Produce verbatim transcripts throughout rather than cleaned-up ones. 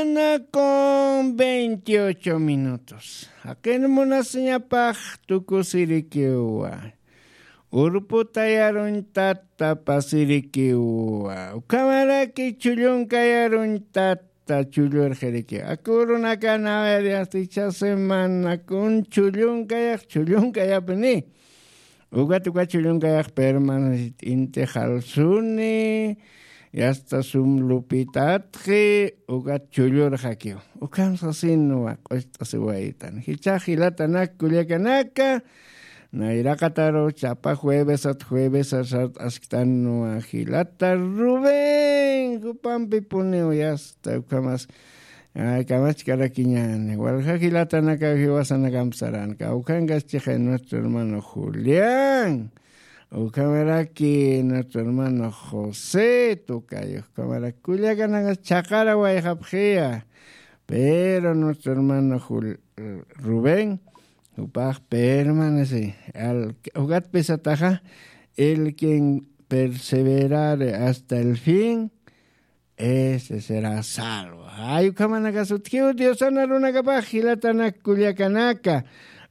Con veintiocho minutos. Jaqin munasiñapax tukusirikiwa. Urputa yaruñtata pasirikiwa. Ukhamaraki chullunka yaruñtata chullurxirikiwa. Akurunakana, a ver, ya estoy semana kun chullunkayax, chullunka yapni. Ukat uka chullunkayax permanecit inti jalsuni, yasta sum lupitatxi, ukat chullurxakiw. Ukham sasinwa q'ust'asiwayitan. Jichhax jilatanak kullakanaka, nayraqataru chapa juevesat juevesat sart'asktanwa jilata Rubén, jupampipuniw yasta ukhamas Ay, kamachkarakiñani. Walja jilatanaka jiwasanakamp saran. Kawkhankas chixay nuestro hermano Julián. Ukhamaraki nuestro hermano José Tocayo. Ukhamaraki kullakanaka chhaqara wayjapxiya. Pero nuestro hermano Jul- Rubén, jupax permanece. Al, jugat pesataxa, el quien perseverare hasta el fin, ese será salvo. Ay, ukhamanaka sutjiw Diosana runakapax jilatanak kullakanaka.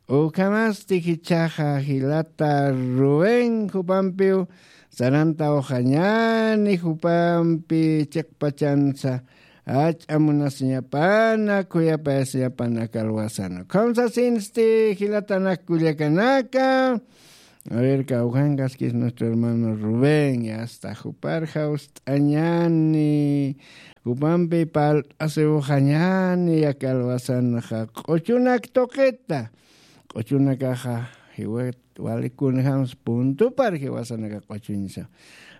Ukhamasti jichhaxa jilata Rubén jupampiw sarantawxañani, jupampi chiqpachansa ach'amunasiñapana, khuyapayasiñapana kalwasana. Ukham sasinsti jilatanak kullakanaka. A ver, kawkhankaskis nuestro hermano Rubén, ya está, jupar jawst'añani, jupampi palt'asiwxañani, ya kalwasanxa, q'uchunak tuqita, q'uchunakaxa, jiwat, wali kunjams puntupar jiwasanaka q'uchuñsa.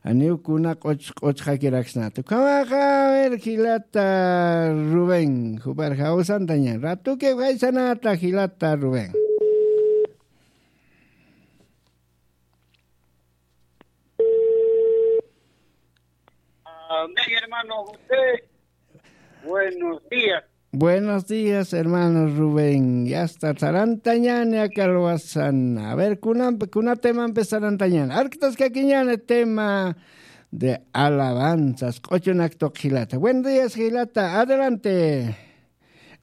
Aniw kuna q'uch, q'uchxakiraksnata. Ukhamaxa, a ver, jilata Rubén, jupar jawsantaña, ratuki jaysanata, jilata Rubén. Amén, hermano José. Buenos días. Buenos días, hermano Rubén. Ya está, sarantañani akalwasan. A ver, kunamp-, kuna temampi sarantañani. Arktaskakiñani tema de alabanzas. Q'uchunak tuq jilata. Buenos días, jilata. Adelante.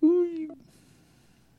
Uy.